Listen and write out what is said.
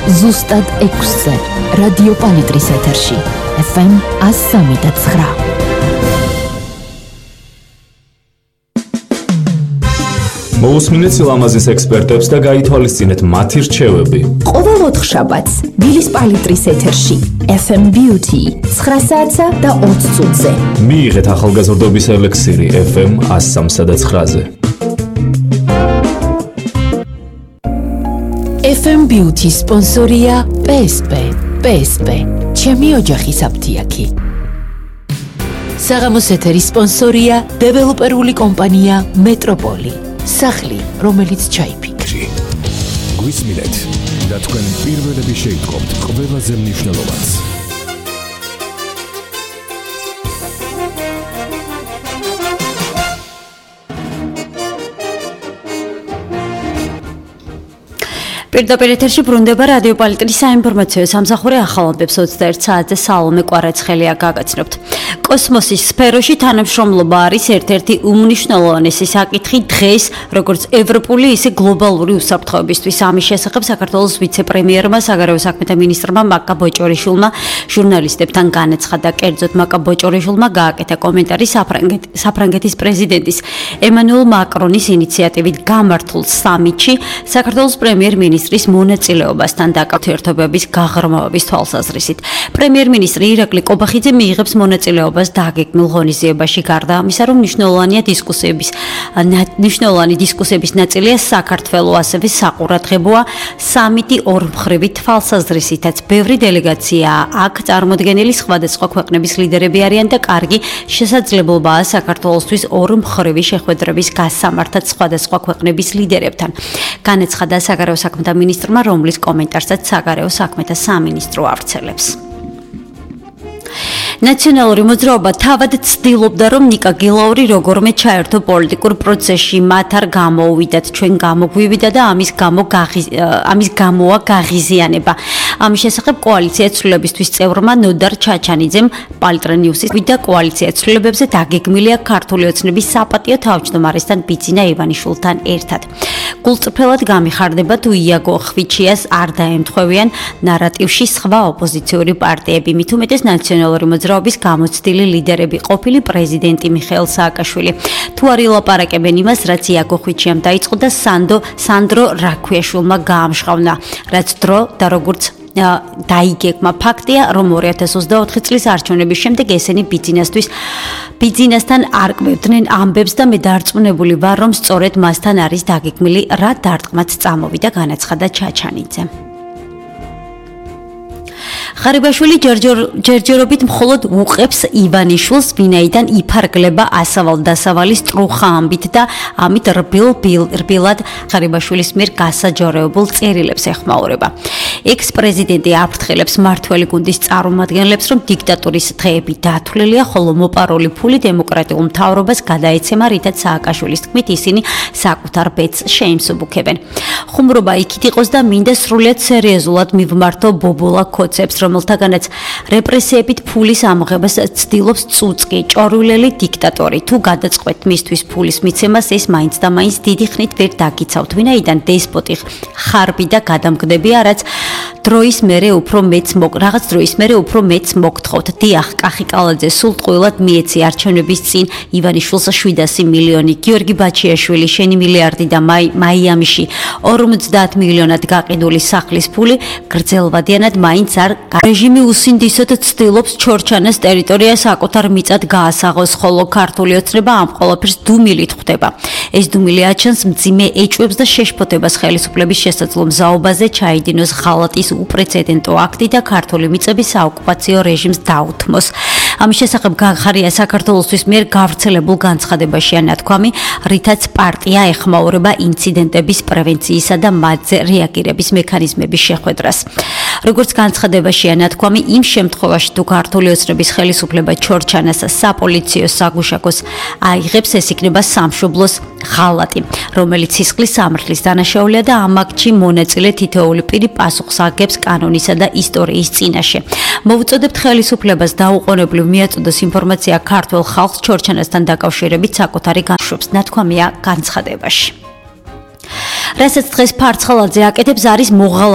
ზუსტად 6-ზე რადიო პალიტრის ეთერში FM 103.9. მოусმინეთ სილამაზის ექსპერტებს და გაითვალისწინეთ მათი რჩევები. ყოველ ოთხშაბათს დილის პალიტრის ეთერში FM Beauty 9 საათსა და 20 წუთზე. მიიღეთ ახალგაზრდობის ელექსირი FM 103 და 9-ზე. FM Beauty სპონსორია PSP. ჩემი ოჯახის აფთიაქი. საღამოს ეთერის სპონსორია დეველოპერული კომპანია მეტროპოლი. სახლი, რომელიც ჩაიფიქრი. გვისმინეთ და თქვენ პირველები შეიტყობთ ყველაზე მნიშვნელოვანს. პირდაპირ ეთერში ბრუნდება რადიო პალიტრის საინფორმაციო სამსახური ახალობებს 21 საათზე სალომე კვარაცხელია გაგაცნობთ. კოსმოსის სფეროში თანამშრომლობა არის ერთ-ერთი უმნიშვნელოვანესი საკითხი დღეს, როგორც ევროპული, ისე გლობალური უსაფრთხოებისთვის. ამის შესახებ საქართველოს ვიცე-პრემიერმა, საგარეო საქმეთა მინისტრმა მაკა ბოჭორიშვილმა ჟურნალისტებთან განაცხადა. კერძოდ, მაკა ბოჭორიშვილმა გააკეთა კომენტარი საფრანგეთის პრეზიდენტის ემანუელ მაკრონის ინიციატივით გამართულ სამიტში საქართველოს პრემიერ-მინისტრის მონაწილეობასთან ურთიერთობების გაღრმავების თვალსაზრისით. პრემიერ-მინისტრი ირაკლი კობახიძე მიიღებს მონაწილეობას დაგეგმილ ღონისძიებაში. გარდა ამისა, რომ მნიშვნელოვანი დისკუსიების ნაწილია საქართველო, ასევე საყურადღებოა სამიტი ორმხრივი თვალსაზრისითაც. ბევრი დელეგაციაა აქ წარმოდგენილი, სხვადასხვა ქვეყნების ლიდერები არიან და კარგი შესაძლებლობაა საქართველოსთვის ორმხრივი შეხვედრების გასამართად სხვადასხვა ქვეყნების ლიდერებთან. განაცხადა საგარეო საქმეთა მინისტრმა, რომლის კომენტარსაც საგარეო საქმეთა სამინისტრო ავრცელებს. ნაციონალური მოძრაობა თავად ცდილობდა, რომ ნიკა გილაური როგორმე ჩაერთო პოლიტიკურ პროცესში, მათ არ გამოუვიდათ, ჩვენ გამოგვივიდა და ამის გამოა გაღიზიანება. ამის შესახებ კოალიცია ცვლილებისთვის წევრმა ნოდარ ჩაჩანიძემ პალტრენიუსის ვიდა კოალიცია ცვლილებებზე დაგეგმილია ქართული ოცნების საპატიო თავმჯდომარესთან ბიძინა ივანიშვილთან ერთად. გულწრფელად გამიხარდება, თუ იაგო ხვიჩიას არ დაემთხვევიან ნარატივში სხვა ოპოზიციური პარტიები, მით უმეტეს ნაციონალური მოძრაობის გამოცდილი ლიდერები, ყოფილი პრეზიდენტი მიხეილ სააკაშვილი. თუ არ ილაპარაკებენ იმას, რაც იაგო ხვიჩიამ დაიწყო და სანდრო რაქვიაშვილმა გაამშყავნა, რაც დრო და როგორც დაიგეგმა. ფაქტია, რომ 2024 წლის არჩევნების შემდეგ ესენი ბიძინასთან არკვევდნენ ამბებს და მე დარწმუნებული ვარ, რომ სწორედ მასთან არის დაგეგმილი, რა დარტყმაც წამოვიდა, განაცხადა ჩაჩანიძე. ღარიბაშვილი ჯერჯერობით მხოლოდ უყებს ივანიშვილს, ვინაიდან იფარგლება ასავალ-დასავალი სტრუხა ამბით და ამით რბილად ღარიბაშვილის მიერ გასაჯაროებულ წერილებს ეხმაურება. ექს-პრეზიდენტი აფრთხილებს მმართველი გუნდის წარმომადგენლებს, რომ დიქტატურის დღეები დათვლილია, ხოლო მოპარული ფული დემოკრატიულ მთავრობას გადაეცემა, რითაც სააკაშვილის თქმით ისინი საკუთარ ბედს შეიმსუბუქებენ. ხუმრობა იქით იყოს და მინდა სრულიად სერიოზულად მივმართო ბობოლა კოცებს, რომელთაგანაც რეპრესიებით ფულის ამოღებას ცდილობს წუწკი, ჭორვილელი დიქტატორი. თუ გადაწყვეტ მისთვის ფულის მიცემას, ეს მაინც და მაინც დიდი ხნით ვერ დაგიცავთ, ვინაიდან დესპოტი ხარბი და გადამგდებია, რაც დროის მერე უფრო მეც მოგთხოვთ. დიახ, კახი კალაძე სულ ტყუილად მიეცი არჩევნების წინ ივანიშვილს 700 მილიონი, გიორგი ბაჩიაშვილი შენი მილიარდი და მაიამიში 50 მილიონად გაყიდული სახლის ფული გრძელვადიანად მაინც არ რეჟიმი უსინდისოდ ცდილობს ჩორჩანას ტერიტორია საკუთარ მიწად გაასაღოს, ხოლო ქართული ოცნება ამ ყველაფერს დუმილით ხვდება. ეს დუმილი აჩენს მძიმე ეჭვებს და შეშფოთებას ხელისუფლების შესაძლო მზაობაზე ჩაიდინოს ღალატის უპრეცედენტო აქტი და ქართული მიწების საოკუპაციო რეჟიმს დაუთმოს. ამის შესახებ გახარია საქართველოსთვის მიერ გავრცელებულ განცხადებაშია ნათქვამი, რითაც პარტია ეხმაურება ინციდენტების პრევენციისა და მათზე რეაგირების მექანიზმების შეხვედრას. როგორც განცხადებაშია ნათქვამი, იმ შემთხვევაში თუ ქართული ოცნების ხელისუფლება ჩორჩანას საპოლიციო საგუშაგოს აიღებს, ეს იქნება სამშობლოს ღალატი, რომელიც სისხლის სამართლის დანაშაულია და ამ აქტში მონაწილე თითოეული პირი პასუხს აგებს კანონისა და ისტორიის წინაშე. მოვუწოდებთ ხელისუფლებას დაუყოვნებლივ მიაწოდოს ინფორმაცია ქართულ ხალხს ჩორჩანასთან დაკავშირებით საკუთარი განშვებს, ნათქვამია განცხადებაში. რასაც დღეს ფარცხალაძე აკეთებს, არის მოღალატე